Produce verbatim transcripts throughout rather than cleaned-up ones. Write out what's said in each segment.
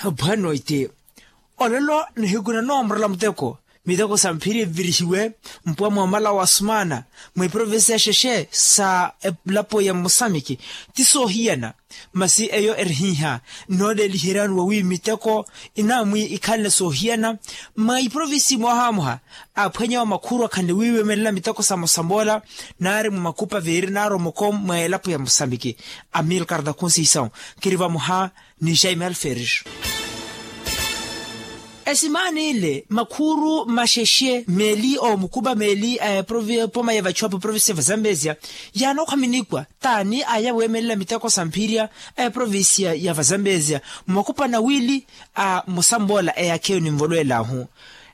Bwanoiti, olelo nihiku nanoomorela muteko, miteko sa mphiri evirihiwe mpwa mwa omala wa sumaana mwa eprovinsi ya xexe sa elapo ya mosamiki. Ti soohiyana, masi eyo erihihya, nooleliheryani wawi miteko inamwi ikhalana soohiyana mwa iprovinsi mwahamoha. Aphwanya wa makhuru akhanle wiiwemelela miteko sa mosamboola naari mwa makupa veeri naari omoko mwa elapo ya mosamiki. Amilcar da conceição, kiri vamoha ni jaime alferes. Esimaana ile makhuru maxexe meeli omukupa meeli a epoma ya vachuapo provinsi ya vazambezia, yaanookhaminikwa taani aya weemelela miteko sa mphirya a eprovinsi ya vazambezia mmakupa nawili a musamboola eyakheyo ninvolwelahu.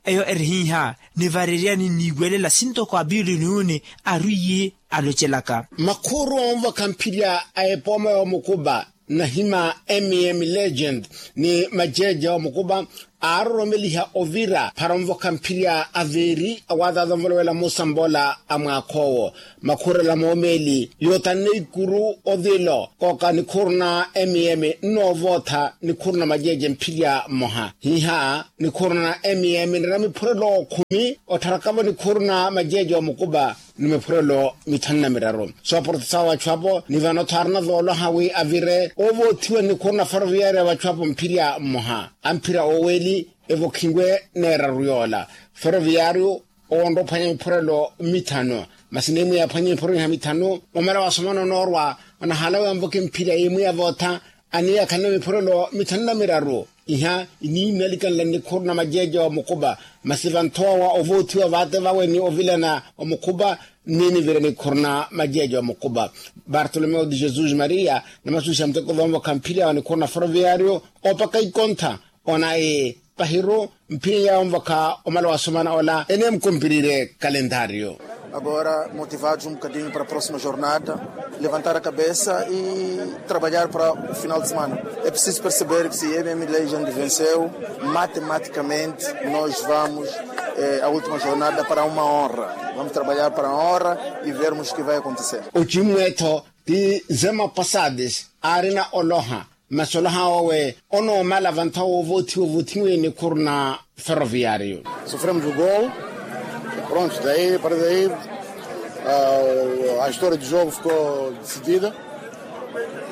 Eyo erihihya nivareryani niiwelela sintoko apiili niyuni arwiiyi alocelaka. Makhuru onvokha mphirya a epoma ya omukupa nahima mm legend ni majeeje a omukupa aaroromeliha ovira para onvokha mphirya aveeri awaatata onvolowela muusamboola a mwaakha owo. Makhurela moomeeli yootanne ikuru othilo kooka nikhuru na mm nnoovootha nikhuru na majeeje mphirya mmoha hiiha nikhuru na mm nira miphurelo okhumi ottharakavo nikhuru na majeeje omukupa ni miphurelo mithanu na miraru. Sooporotisa wa vachu apo ni vano-tho aarina vooloha wi avire ovoothiwa ni nikhuru na ferroviaria vachu apo mphirya mmoha amphira oweeli evokhiwe neeraru yoola ferroviario owoonra ophwanya miphurelo mithanu. Masi neemwiya aphwanye miphurelo iha mithanu omala wasomana onoorwa anahaala wi anvoke mphirya yeemwiya vootha aniiya akhalana miphurelo mithanu na miraru. Iha iniinnalikanla nnikhuru na majeeje wa mukupa masi vanthowa wa ovoothiwa vaate vawe ni ovilana wa mukupa. Nniinivira nikhuru na majeeje wa mukupa bartolomeo de jesus maria namasusiha muteko vanvokha mphirya wa nikhuru na ferroviario opaka ikontha. Ona e pahiru mphirya ya onvokha omala wa sumana ola eneemukumpirire kalendario. Agora motivados um bocadinho para a próxima jornada, levantar a cabeça e trabalhar para o final de semana. É preciso perceber que se a mm legend venceu, matematicamente nós vamos a última jornada para uma honra. Vamos trabalhar para a honra e vermos o que vai acontecer. Ocimmwe-tho ti zema pasades aarina oloha masi oloha wawe onoomala vanthowa woovoothiwa ovothiwe nikhuru na ferroviario. Sofremos o gol. Pronto, daí para daí a história do jogo ficou decidida.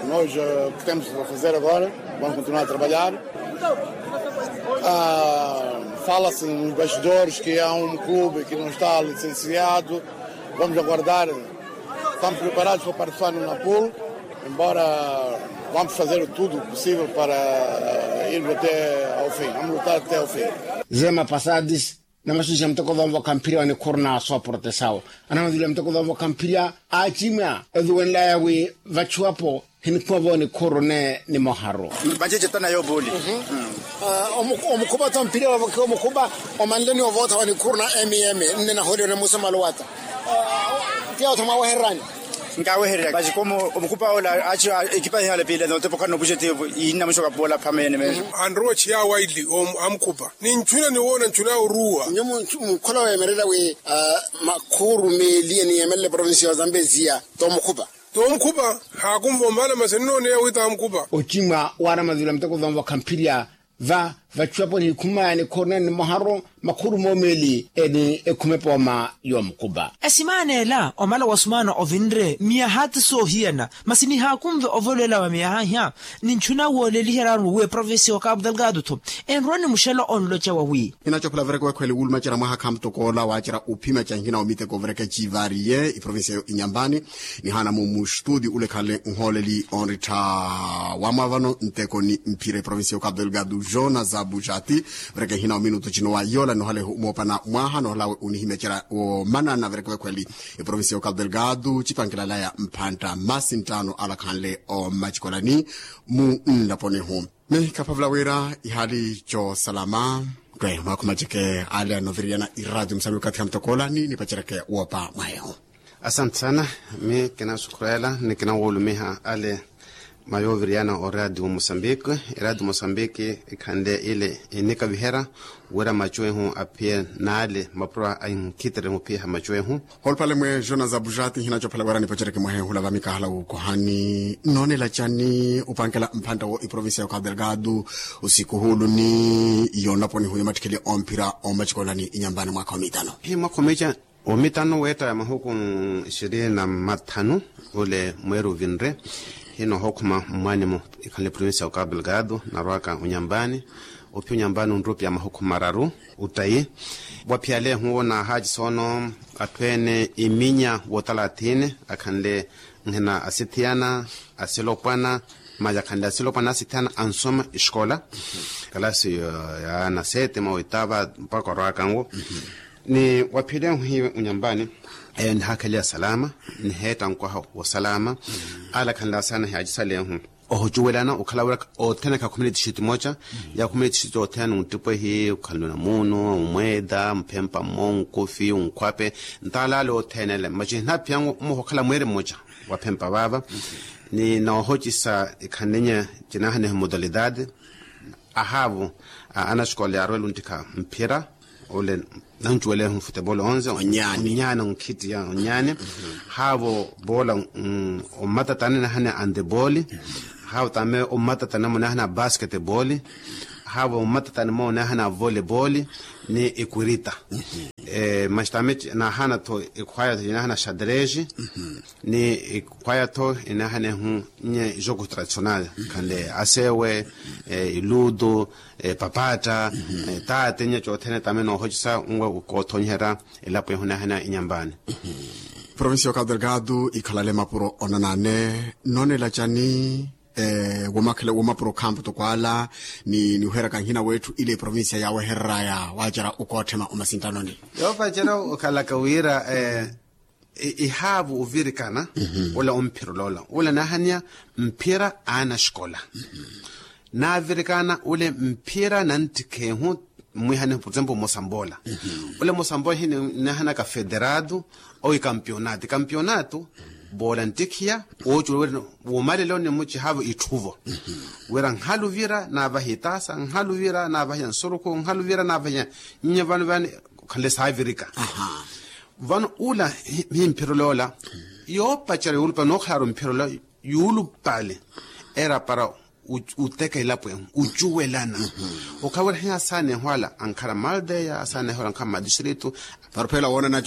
Nós o que temos para fazer agora, vamos continuar a trabalhar. Fala-se nos bastidores que há um clube que não está licenciado. Vamos aguardar. Estamos preparados para participar no napul, embora vamos fazer tudo possível para irmos até ao fim. Vamos lutar até ao fim. Zema pasades namasusiha muteko vanvokha mphirya wa nikhuru na sooporotesao anamavila muteko vanvokha mphirya aacimya eviwenlaya wi vachu apo hinikhuma vo nikhuru ne nimoharu. Majeje tana yo buli. Omukhupa tho mphirya wavokhiwa omukhupa omanleni ovootha wa nikhuru na mm nne nahooliyoni musamalo wata. Tiya otho mwawehererani? Nkawehererya vacikomo omukhupa ola aci ekipa ihala pila notepokhana nopuxeti. Iinna muxoka poola phamene meso. Anrowa chiya waili amukhupa ninchuna niwoona nchuna oruwa. Nyo mukhola weemerela wi makhuru meeli eniyemelela eprovinsi ya zambezia tomukhupa. Tomukhupa haakumva omala masi nnooneya wi tamukhupa. Ocimwa waana mazulu a muteko vamvokha mphirya va vachu apo nihikhumaya nikhuru nene nimoharu makhuru moomeeli eni ekhume pooma. Yoomukhupa esimaana ela omala wa sumaana ovinre miyaha ti soohiyana masi nihaakunve ovolwela wa miyaha iha. Ninchuna wooleliheryani wowi eprovinsi ya okapu delgado-tho enrowa ni muxela onloca wawi. Inacophela vereke wekhweli wulumacerya mwaha khamutokoola waacerya uphima canhina omiteko vereke ciivariye iprovinsi eyo inyambani. Nihaana-mo muxtudi ule khale nhooleli onrittha wamwavano nteko ni mphira eprovinsi ya okapu delgado jona za buxati. Vereke nhina ominutu cino wa yola nohalehu moopana mwaha nohalawe unihimecerya woomanana vereke wekhweli eprovinsi ya okapu delgado cipankilalaya mphantta masi nttaano alakhanle omacikolani. Mu nlaponihu mi khaphavula wira ihali coosalama. Kwe mwakhumaceke ale anoviriyana iradio musami okathi khamutokoola ni nipaceryeke woopa mwahehu. Asante sana. Mi kinasukhurela ni kinawulumiha ale Mayoviriyana o radio mosambiki. Eradio mosambiki ikhanle ile enikaviherya wira machu ehu aphiye n'ale mapuro a inkhitiri muphiyeha machu ehu. Hoolupale mwe jonas abujati nhinacophela wira nipacereke mwahe hula vamikahala wukohani noonela cani upankela mphantta wo iprovincia ya okadelgado? Osikuhulu ni yonaponi huyo mattikheli omphira omacikolani inyambani mwakha omitano. Hi mwakha omica omitano weetta ya mahuku ishirini na mathanu ule mweeri uvinre. Hino hookhuma mmwaani-mo ikhanle provincia ya okadelgado narwaka onyambani. Ophiya onyambani onrupya mahuku mararu uttayi. Waphiyalehu wo naahaacisa ono atthu ene iminya wotalathini akhanle nhina asithiyana asilopwana maya akhanle asilopwana asithiyana ansoma esikola kalasi ya nasete mwa oitava mpakha orwaka nwo. Ni waphiyalehu hiyo onyambani eyo nihakheliya salama niheetta nkwaha wosalama. Ala akhanle asana hiyachisalehu ohucuwelana okhala wira othene khakhumile tixiti moca. Yakhume tixiti othene nttipwehi okhanle onamuno omweeda mphempa mmo nkufi nkhwape ntaalaale othene ele maci hinaphiyangu mmoha okhala mweeri mmoca waphempa vaava. Ni noohocisa ikhanlinye cinaahaneha modalidade ahaavu anaxikola yaarwela onttikha mphira ole nancuwelehu futebolo onze onyaani onkhittiya onyaani. Haavo boola ommatattani nahane andebooli. Haavo tame ommatattani mo nahane abasketebooli. Haavo ommatattani mo nahane avolebooli ni ikwirita. Maxi tame nahana-tho ikhwaya-tho inahana xadreji ni ikhwaya-tho inahanehu nye jogo tradicional khanle asewe iludo papatta. Taate nye cothene tame noohocisa nwe koothonyiherya elapo ehu nahana inyambani. Provincia ya okadelgado ikhalale mapuro onanane noonela cani? Womakhele womapuro khampu toko ala ni niweheraka nhina wetthu ile provincia yaawehereraya waacerya okootthema omasintanoni. Yoopacerya okhalaka wira ihaavu ovirikana ula omphira oloola ula naahaniya mphira aanaxikola. Naavirikana ule mphira nanttikhehu mmwihanehu por exemplo mosamboola ule mosamboola hinahanaka federado owi kampionato kampionato boola nttikhiya woocuwela wira womalelo nimuci haavu itthuvo wira nhaluvira naavahiya itaasa nhaluvira naavahiya nsurukhu nhaluvira naavahiya nnya vano vani khanle saavirika. Vano ula himphira oloola yoopacerya yuulupale nookhalaaru mphira ola yuulupale era para uteka elapo ehu ucuwelana. Okhala wira hiyasaanehu ala ankhala maldeya asaanehu ala ankhala madistrito para ophela woonana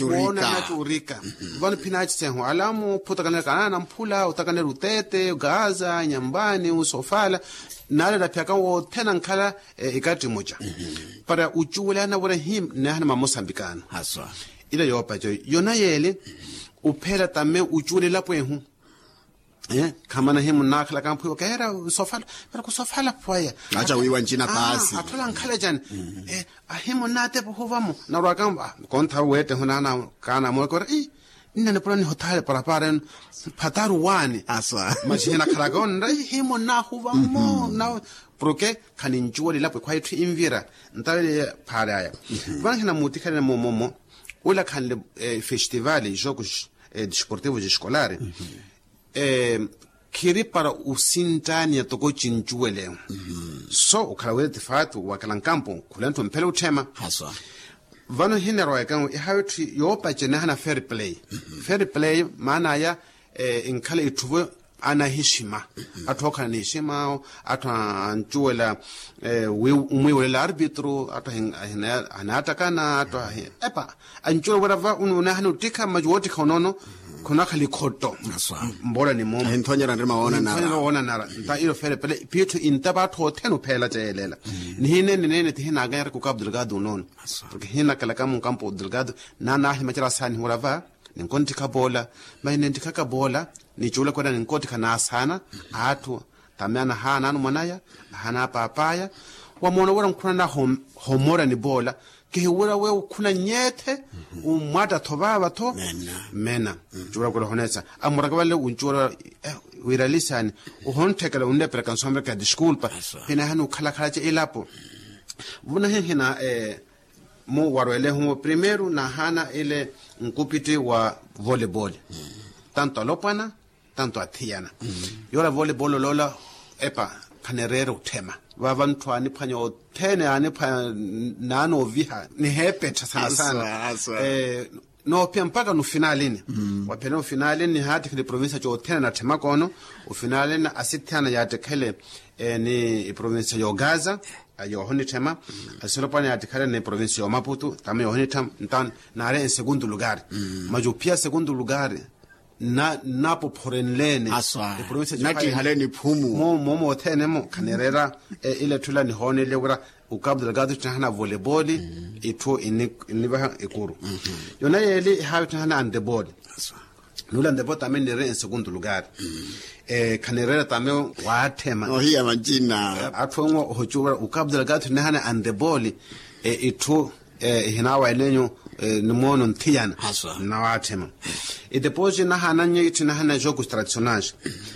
curika. Vano phinaacisa ehu alamu phutakanela kanaana mphula otakanela uteete gaza nyambani usofala nale naphiyaka wothene ankhala ikatti muca para ucuwelana wira hi nahana mamosambikano. Ila yoopaca yona yeele uphela tame ucuwela elapo ehu. Khamana himu nnaakhalaka mphwiwa keera sofala pero kusofala pwaya. Aca wiiwa ncina paasi atthu ala ankhala cani? Ahimu nnaatepa ohuvamo narwaka kontha weettehu naana kaana mookora ii nne nipula niho thaale parapara enu phataru waani. Maxi hinakhalaka onra ii himu nnaahuva mmo na porke khanincuwela elapo ekhwaye etthu invira ntalele phaale aya. Vano hinamuuttikhelene moomomo ula khanle festival jogo desportivo escolar khiri para osinttaaniya toko cincuwelehu. So okhala wira tifaatu wakela nkampo khulenttu mphele otthema. Vano hinerwaka ihawe etthu yoopace nahana fair play. Fair play maana aya inkhala itthuvo anahixima atthu ookhala nihixima atthu ancuwela omwiiwelela arbitro atthu ahinattakana atthu ahi epa ancuwela wira va unahana ottikha maci woottikha onoono khunakhala ikhotto. Mboolani moomo ninthonyera nrima woonanara nta ilo fele pele piitthu intapa atthu othene opheela ceyelela. Nihineene neene tihinakanyeraka okapu delgado onoono porke hinakalaka munkampo delgado naanaahimacerya asaanihiwela va ninkonttikha poola. Mahi ninttikhaka poola nicuulaka wira ninkonttikha naasaana atthu tame anahaana anumwanaya ahaana apaapaya wamoona wira nkhunana homorani poola. Kihiwira we ukhuna nyeethe ummwatta-tho vaava-tho mena. Cuwira kula honeesa amuraka vale uncuwira wira lisani uhontteka unleperaka nsomeraka diskulpa. Hinahani ukhalakhala ca elapo vuna hinhina mu warwelehu primeiru nahaana ile nkupitti wa volebole tanto alopwana Tanto athiyana. Yoola voleibolo loola epa, khanereera otthema. Vaava ntthu aaniphwanya othene aaniphwanya, naanooviha niheepettha saasana. Noopiya mpakha nofinalini. Waphiyana ofinalini nihaattikhele iprovincia cothene natthema koono. Ofinalini asithiyana yaattikhele ni iprovincia y'ogaza, yoohonitthema. Asilopwana yaattikhele ni iprovincia y'omaputu tama yoohonitthema. Ntaani naari ensegundu lugari. Maci ophiya segundu lugari nnapophorenleni. Aswa. Nattihaleni phumu. Moomo othene-mo khanereera. Ile etthu ila nihoonele wira, ukapu delgado ttinahana voleiboli. Itthu innivaha ekuru. Yona yeeli ihaawi ttinahana andeboli. Nuula andeboli tame nniire ensegundu lugari. Khanereera tame waatthema. Ohiya mancina. Atthu onwo ohocuwa wira ukapu delgado ttinahana andeboli. Itthu ihinaawa enenyu. Ni moono nthiyana. Nnawaatthema. Iteposi nahaananyo itthu inahana jokus tradicionais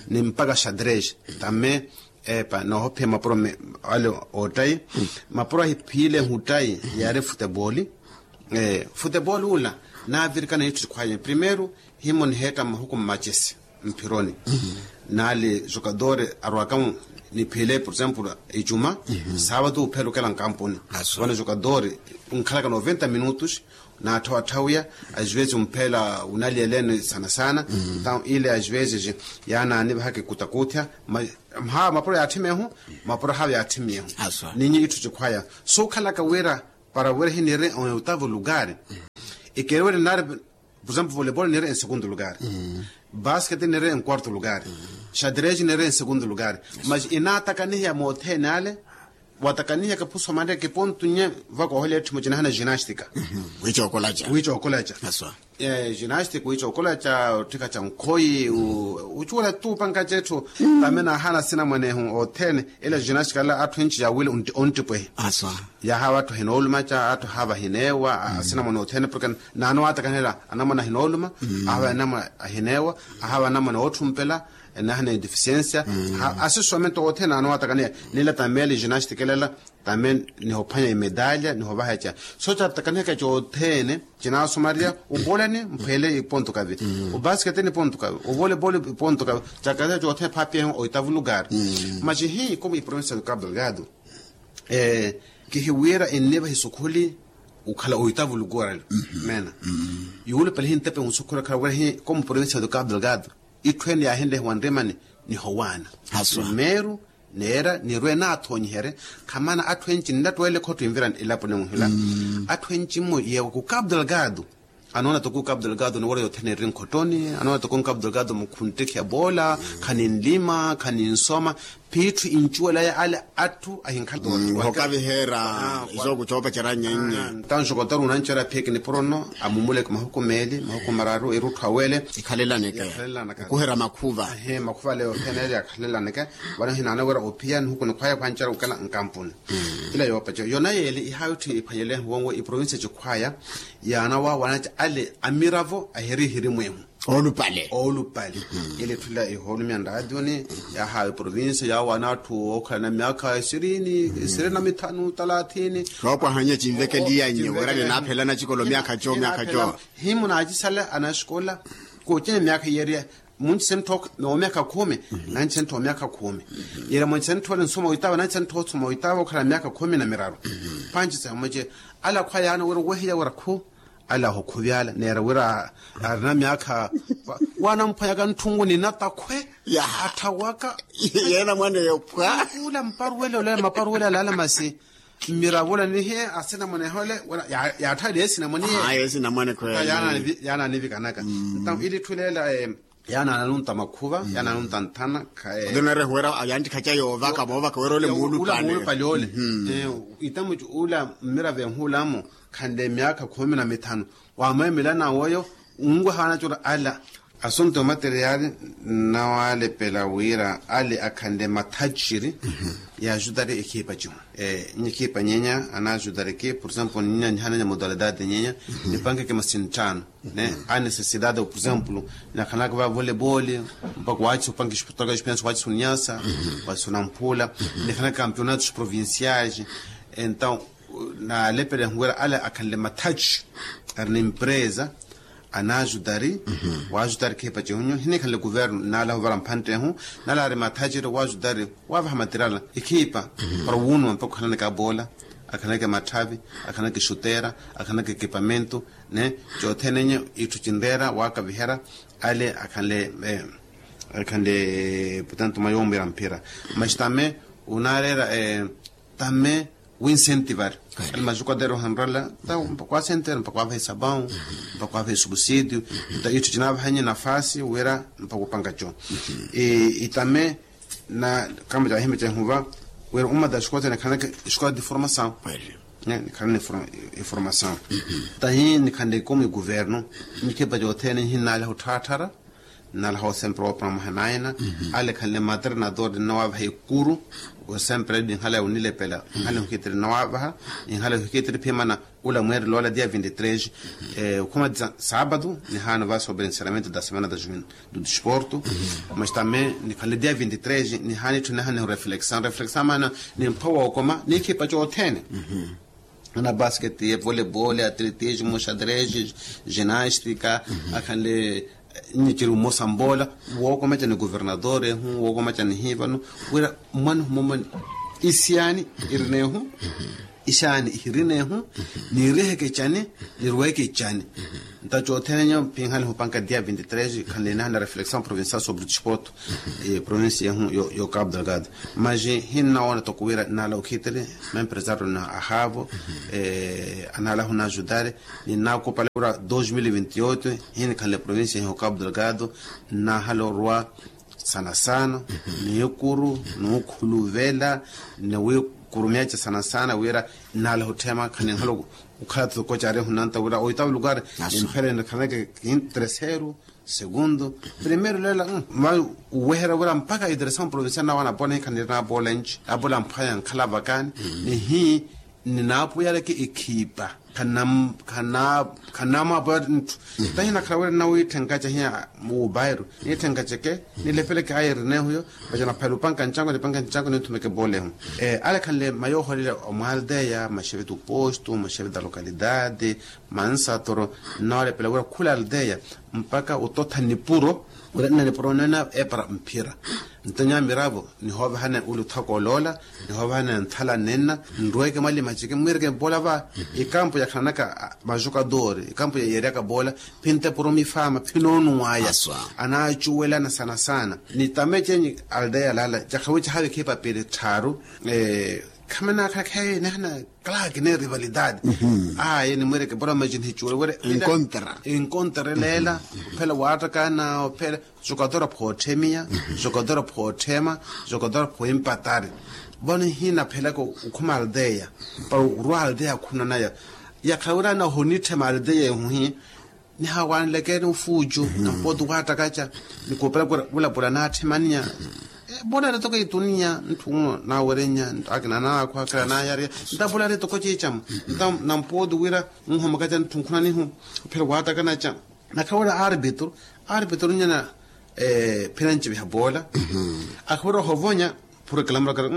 ni mpakha xadres. Tame epa noohophiya mapuro ale ottayi. Mapuro ahiphiyile ehuttayi yaari futeboli. Futeboli ula naavirikana itthu sikhwaya primeiro. Himo niheetta mahuku mmachesi mphironi. Naali jokadori arwaka niphiyile por exemplo icuma, saavatu uphela okela nkampuni. Vano jokadori nkhalaka noventa minutos. Naatthawatthawiya. Ajuvezi umpheela unaliyeleni sana sana. Ntawu ile ajuvezi yaanaanivahaka ekutakutthya. Mhaawa mapuro yaatthimiyehu. Mapuro haawa yaatthimiyehu. Ninyi itthu cikhwaya sookhalaka wira para wira hiniire ewitavu lugari. Ikeriwele nari por exemplo voleibolo niire ensegundu lugari. Basketi niire enkuartu lugari. Xadres niire ensegundu lugari. Mas inaatakaniheya moothene ale. Waatakaniheka phusomanre kipontu nye. Vakoohela etthu mucinahana ginastika. Wiicookolaca. Wiicookolaca. Ginastika wiicookolaca otthika ca nkhoyi. Ucuwela tuupanka cetthu. Tame naahana asinamwanehu othene. Ila ginastika ala atthu enci yaawile onttipwehi. Yahaawa atthu ahinoolumaca atthu ahaawa ahineewa. Asinamwane othene porke naanowaatakanela anamwane ahinooluma. Ahaawa anamwane ahineewa. Ahaawa anamwane ootthumpela. Enahana edifisiensia. Asisomento othene naanowaatakanela. Nila tamele ginastika elela. Tame nihophwanya imedalya nihovaha eca. So caatakanihaka cothene. Cinaasomariya ubolani mphwele iponto kavi. Ubasketeni iponto kavi uvoleiboli iponto kavi. Caatakanihaka cothene phaapiyehe oitavu lugari. Maci hii komu iprovinsia ya kapu delgado kihiwira ennivaha isukhuli. Okhala oitavu lugari. Meena yuulupale hintepe nsukhuli okhala wira hii komu provinsia ya kapu delgado. Itthu ene yaahinlehiwa nrimani nihowaana. Primeiro neera nirwe naathoonyiherye. Khamana atthu enci nnattwele khotto envirani elaponi muhila. Atthu enci mmo yeewa ku kapu delgado. Anoona toko kapu delgado ni wira yothene eri nkhottoni anoona toko kapu delgado mukhuntteke ya boola. Khaninlima khaninsoma. Phiitthu incuwelaya ale atthu ahinkhala. Hokaviheera. Izo kucoopacerya nyennye. Ntansho kontari unanceerya phiyeke nipuro nno. Amumuleke mahuku meeli mahuku mararu erutthu awele. Ikhalelaneke. Okuherya makhuva. Makhuva ale yothene eli akhalelaneke. Vano hinaana wira ophiya nihuku nikhwaya khwancerya okela nkampuni. Ila yoopacerya yona yeeli ihaawi tthi iphwanyelehe wonwo iprovinsia cikhwaya. Yaana waawanatya ale amiravo ahiri ihiri mweehu. Oolupale. Oolupale. Ili etthu ila ihoolumya nraationi. Yahaawa iprovinsia yaawana atthu ookhalana myaakha isirini isirini na mithanu talathini. Soopwahanya cinvekeliyanyu wira ninaaphelana cikolo myaakha co myaakha co. Himu naacisala anasikola. Kooceya myaakha yeeriya munci senttho. Omyaakha khumi nanci senttho omyaakha khumi. Yeeriya munci senttho ole nsoma oitawa nanci senttho osoma oitawa okhala myaakha khumi na miraru. Panci samuce ala khwayaana wira owehiya wira khu. Ala ahukhuvyala neera wira arina myaakha. Waanamphwanyaka ntthungu ni natakhwe. Atthawaka. Yeena mwaneyo phwa. Ula mparuwele ole maparuwele alaala masi. Mmiravula nihiye asinamwanehe ole. Yaatthaliye esinamwaniye. Yaananivikanaka. Ntamu ili etthu leela. Yaana ananunta makhuva yaana ananunta nthana. Othene narehuwera yantikhaca yoovaka moovaka wira ole muulupale ole. Itamuci ula mmiravo enhuulamo khanle myaakha khumi na mithanu. Wamweemela nawoyo. Nwahaana cura ala asunto materiali nnawalepela wira ale akhanle mathaciri. Yaajutari ekhipa cihu. Nyi ekhipa nyenya anaajutari ki por exemplo nyi nanyihananya modalidade nyenya. Nipankeke masinttano. Ne a necessidade por exemplo. Nakhanaka va voleiboli mpakha waacisa opanka exportaga expense waacisa onyasa waacisa onamphula. Nakhanaka campeonatos provinciais. Entaw naalepela ehuwira ale akhanle mathaci ari na empresa. Anaajutari waajutari khiipa cihunyu hinikhanle kuvernu naala huvara mphantte ehu, naala ari mathaceryo waajutari waavaha matirala ikhiipa para wuunuma mpakha okhalanaka aboola, akhalanaka matthavi, akhalanaka exuteera, akhalanaka ekipamentu, ne cothene nye itthu cinreera waakaviherya ale akhanle putantu mwa yoomuwira mphira. Mas tame unaareera tame winsentivari. Ali majukaderu ohanrala ta mpakha waasentivari mpakha waavaha esapawu, mpakha waavaha esubsídiu, ta itthu cinaavahanye nafasi wira mpakha opanka co. Itame na kama cahime cehuva wira umata exikola cene ekhanaka exikola de formasawu. Nikhanle informasawu tahi nikhanle ikomu iguvernu nikhipa cothene hinnaleha otthaattharya. Nnalaha osempera woopanamaha naina ale ekhanle maternador ninawavaha ekuru. Osempera ninhala ya onilepela ninhala ehukitiri ninawavaha. Ninhala ehukitiri phimana ula mweerelo ola dia vinti tres okhuma sabatu nihaana ovasa oberenseramento da semana da juventude desporto. Mas tame nikhanle dia vinti tres nihaana itthu nihana nihureflexaw reflexaw maana nimpha wookoma nikhipa cothene. Ana basket ye volebol atletismo xadrez ginastika akhanle nyikiru mmosa mboola wookomecani governador ehu wookomecani hiivano wira mmwanihu moomoni. Isiyaani irinehu isiyaani ihirinehu niiriheke icani nirweke icani. Nta cothene nyo pinhale hupanka dia vinti tres khanle nihana reflexaw provincial sobre desporto provincia ehu yo cabo delgado. Mas hinnawoona toko wira nala okhitiri maempresario na ahaavo anala hunajudari. Ninakupala wira dos mil vinti oito hinikhanle provincia ehu cabo delgado nahalo rwa sana sana nikuru nukhuluvela niwikurumyaca sana sana wira nala huthema khaninhalo ukhala toko cari ehunanta wira oitavu lukari. Nimphele nikhaneke kintereseru segundo primero lela. Uweherya wira mpakha iteresamu provincial nawe anapona hikhanirina apola nci apola mphwaya nkhala vakani nihi ninapuyaleke ikhipa. Khanamapuyale ntthu tahi nakhala wira nnawitthenkace hiya mubairo nitthenkace ke nilepeleke ayerinehu yo. Vaca naphayala upanka ncango nipanka ncango ninthumeke polehu. Ale khanle mayooholela omwaldeya maxefe tuposto maxefe da lokalidade mansatoro nnawalepela wira khula aldeya mpaka ototha nipuro wira nna nipuro nena epara mphira. Nto nyamiravo nihoovahana uli othaka oloola nihoovahana nthala nenna nrweke mwali maceke mwireke mpoola va ikampo yakhananaka majukadori ikampo yeeryaka poola phintepurumifaama phinoonwaya anaacuwelana sana sana. Nitame cenyi aldeya lala cakhawica havikhipa pili tthaaru. Khamanakhala khaye nihana kalaki ne rivalidade aye nimwireke pora macini hicuwele wira enkontre leela ophela waattakana ophela jogador phootthemiya jogador phootthema jogador phoimpatari. Vano hinaphela okhuma aldeya para orwa aldeya akhunanaya yakhala wira nahonitthema aldeya ehuhi. Nihawanlekeni ufuucu na mpooti waattakatxa nikupela wulapula naatthemaniya. Polaari toko ituniya ntthu uno naawerenya akina naakhu akila naayariya ntapolaari toko ciicamu. Nta na mpooti wira nhomakaca ntthu nkhunanihu ophela waattakanaca. Nakhala wira arbitro arbitro nyana phira nciviha poola. Akhavira ohovonya phura ekilamura kari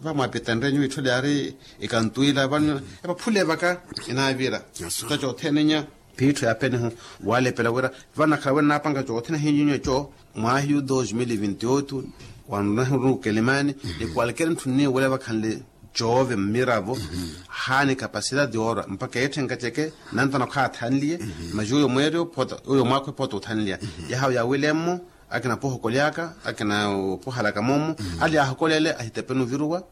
vamwaapita nre nyuwo itthole yaari ikantwila vano epaphule vaka inaavira. Nta cothene nya phiittho ya penihu walepela wira vanakhala wira naapanka cothene hinyunyu eco mwahiyu dos mil vinti oito wanruna huruna okelimani ni kwalkeri ntthu nniiwela vakhanle coove mmiravo. Haani kapasidade yoorwa mpakha eetthenka ceke nantana okhaathanliye. Mas yuuyo mweeryo uyo mwaakho ephota othanliya yahawo yaawilemmo akina poohokolyaka akina opoohalaka moomo. Ali yaahokolele ahitepeni oviruwa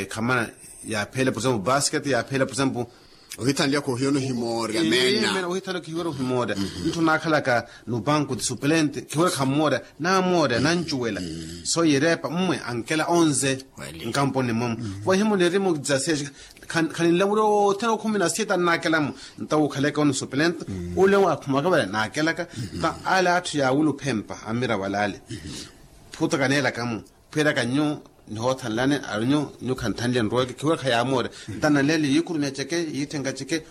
khamana yaaphele por exemplo basket yaaphele por exemplo ohithanliya khoohiwela ohimoorya meena ohithanliya khoohiwela ohimoorya. Ntthu naakhalaka no banco de suplente khiwela khammoorya naamoorya nancuwela. So yireepa mmwe ankela onze nkamponi mmomo. Voohimulerimu dzasexe khaninlamulira othene okhumi na sita nnaakelamu nta wuukhaleke ono suplente ule waakhumaka vale naakelaka. Nta ale atthu yaawula ophempa ammira wala ale phuuta kaneelakamu phwiraka nyu nihoothanlani arinyu nyu khanthanliya nroweke khiwira khayaamoorya. Nta nanleele yiikurumya ceke yiitthenka ceke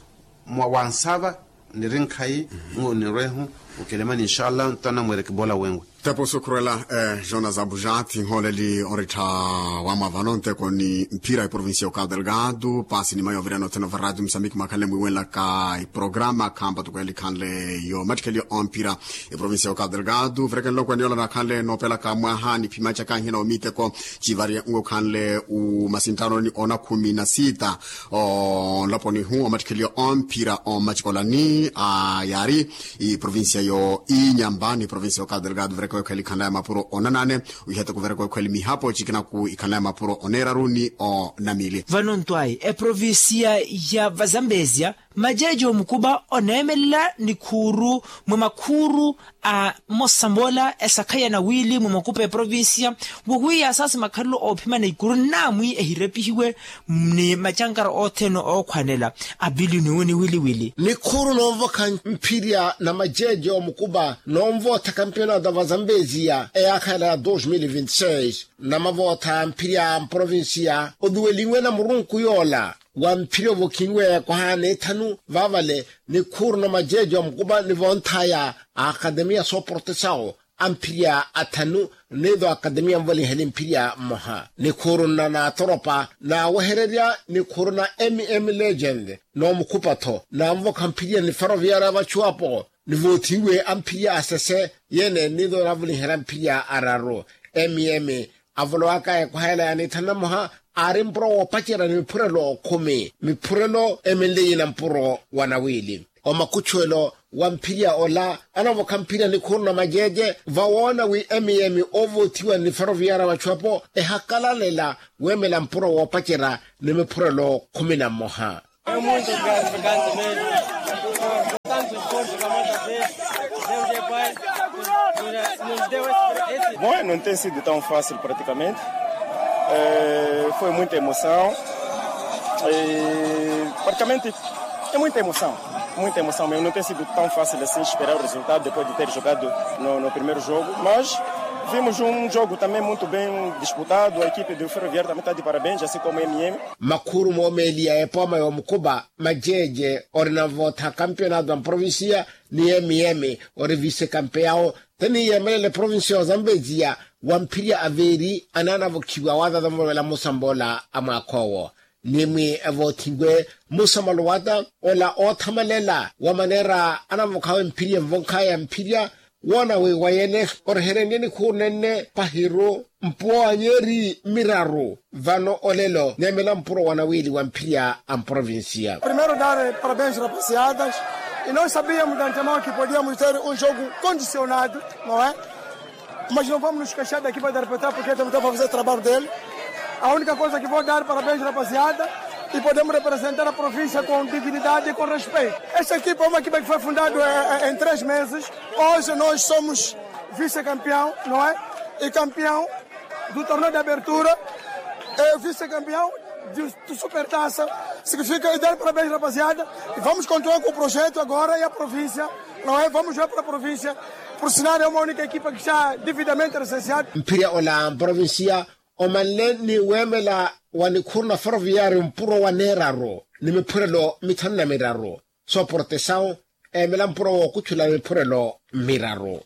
mwa wansava niri nkhayi nwo nirwehu Okelemani inxalla ntana mwerekibola wenwe. Tepo sukhurela. Jonas abujati nholeli orittha wamwa vano nteko ni mphira eprovincia ya ocabo delgado pasi ni mayo vireno theno varati musambiki mwakhanle mwiwenlaka iprograma khampa tukweli khanle yo mattikheli yo omphira eprovincia ya ocabo delgado verekenlo kweniyola nakhanle nopelaka mwaha ni phimachaka nhina omiteko chivari ngokhanle umasintano ni ona khumi na sita. Onlaponi hu omattikheliyo omphira omachikolani a yari iprovincia yo inyamba ni provincia yo cabo delgado vereka wekho elikhanla ya mapuro onanane. Wihete kuvereka wekho elimihapo chikinaku ikhanla ya mapuro oneraru ni onamili. Vano ntwayi eprovincia ya vazambezia majeeji omukuba oneemelela nikhuuru mwa makhuuru a mmosa moola esakha ya nawili mwa makupa eprovincia wowiya asaasi makhalelo oophimana ikuru nnaamwi ehirepihiwe ni macankara othene ookhwanela. Apiliyuni wu ni wiliwili nikhuuru noovokha mphirya na majeeji omukuba noonvootha kampionato a vazambezia eyaakha ela ya dos mil vinti seis. Namavootha mphirya mprovincia oduwelinwe na murunku yoola wa mphirya ovokhinwe eyakoha ya neethanu vaavale nikhuuru na majeeji omukuba ni vonthaya a akademiya sooportesawo a mphirya athanu ni do akademiya nvolinheli mphirya mmoha nikhuuru nna naatoropa naawehererya nikhuuru na mm legend noomukhupa-tho naanvokha mphirya ni faroviyaari a vachuwapo nivoothiwe a mphirya asese yene ni do naavulinherya mphirya araru. Mm avolowaka ekwahela ya nithanu na mmoha aari mpuro woopacerya ni miphurelo khumi miphurelo emenleyi na mpuro wa nawili. Omakuchuwelo wa mphirya ola anavokha mphirya nikhuuru na majeeje vawoona wi mm oovoothiwa ni faroviyaari a vachuwapo ehakalalela weemela mpuro woopacerya ni miphurelo khumi na mmoha. Bom, não tem sido tão fácil praticamente. Foi muita emoção. Praticamente é muita emoção. Muita emoção mesmo. Não tem sido tão fácil assim esperar o resultado depois de ter jogado no primeiro jogo, mas vimos um jogo também muito bem disputado. A equipe do Ferroviário também está de parabéns, assim como a MM. Makhuuru moomeeliya epooma yoomukupa majeeje ori navootha kampionato a mprovincia ni mm ori vise kampeyawo teniyeemelela eprovincia ya ozambeziya wa mphirya aveeri anaanavokhiwa waatatamuvovela musamboola a mwaakha owo. Nimwi evoothiwe musamalo wata ola oothamalela wa maneera anavokhawe mphirya envonkhaya mphirya woona wi wayene oreherenrye nikhuuru nenne pahiru mpuwa wa nyeeri miraru vano olelo neemela mpuro wa nawiili wa mphirya a mprovincia. Primeiro dar parabéns rapaziadas. E nós sabíamos de antemão que podíamos ter um jogo condicionado, não é? Mas não vamos nos queixar da equipa de arbitragem porque também está a fazer o trabalho dele. A única coisa que vou dar parabéns rapaziada e podemos representar a província com dignidade e com respeito. Esta equipa é uma equipa que foi fundada em três meses. Hoje nós somos vice-campeão, não é? E campeão do torneio de abertura, é vice-campeão de, de Supertaça. Significa e dar parabéns rapaziada. E vamos continuar com o projeto agora e a província, não é? Vamos jogar para a província. Por sinal é uma única equipa que está devidamente recenseada. Mphirya ola mprovincia omanle ni weemela wa nikhuuru na ferroviário mpuro wa neeraru ni miphurelo mithanu na miraru. Sooportesawu eemela mpuro wookuchula miphurelo miraru.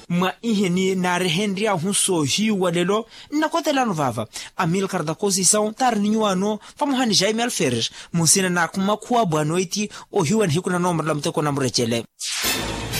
Mwa iheni naarehenry'ahu soohiiwa lelo nnakotelano vaava. Amilcar da conceição taari ni nyuwaano vamoha ni jaime alferes munsina na makhuwa bwanoiti ohiiwa nihiku na noomarela muteko na murecele.